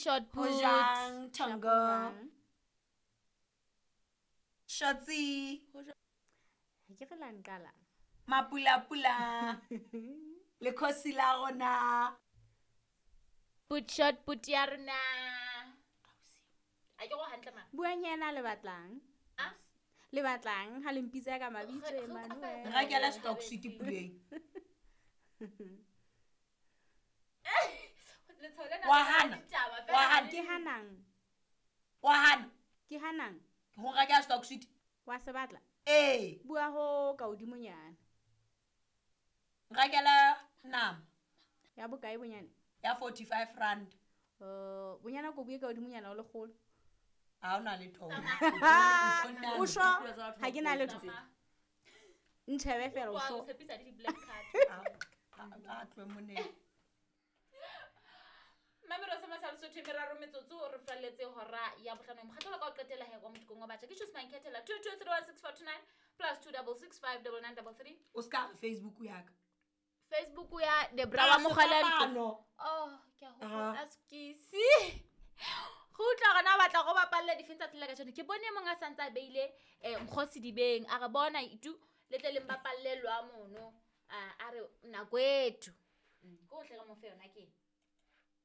Short Ho put. jang Thongo? Shotsi, Ha ke re la nqala. Mapula-pula. Lekgosi la rona. Put short put ya rona. A ke go hantle ma. Buang yena le batlang. Ah? Le batlang ha le mpitsa ka mabitso Re- re Emmanuel. utlwa Nrakela stock sweet puleng. Letshwao lena Wa la hana. ditaba fela Wa hana. Ke hanang. Wa hana Ke hanang. ho nrakela stock sweet. Wa se batla. Ee, Bua ho ka hodimonyana. nrakela nama Ya bokae bonyane? ya 45 rand. Bonyana ko bue ka hodimonyana o lekgolo. Ha o na letho. O sho ha ke na letho. Ntjhebe fela o Wa sho. o tshepisa le di-black card. A tlohe moneng. Mamelo se masale Sotho e meraro metsotso re falletse hora ya bohlano. Mokgatlo wa ka o qetela he kwa motukong wa batjha. Ke Choose Mankethela 22316429 plus 26659933. O ska re Facebook ya ka. Facebook ya Debra wa Mogala. Sefapano. Oh, ke a hopola Aha. askisi. Go utlwa gona o batla go bapalle difeng tsatsi la kajeno. Ke bone e mong a santse a beile Nkgosi dibeng. A re bona itu le tle le mbapalle lwa mono. A re nako ethu. Ko tle re mo fe yona ke.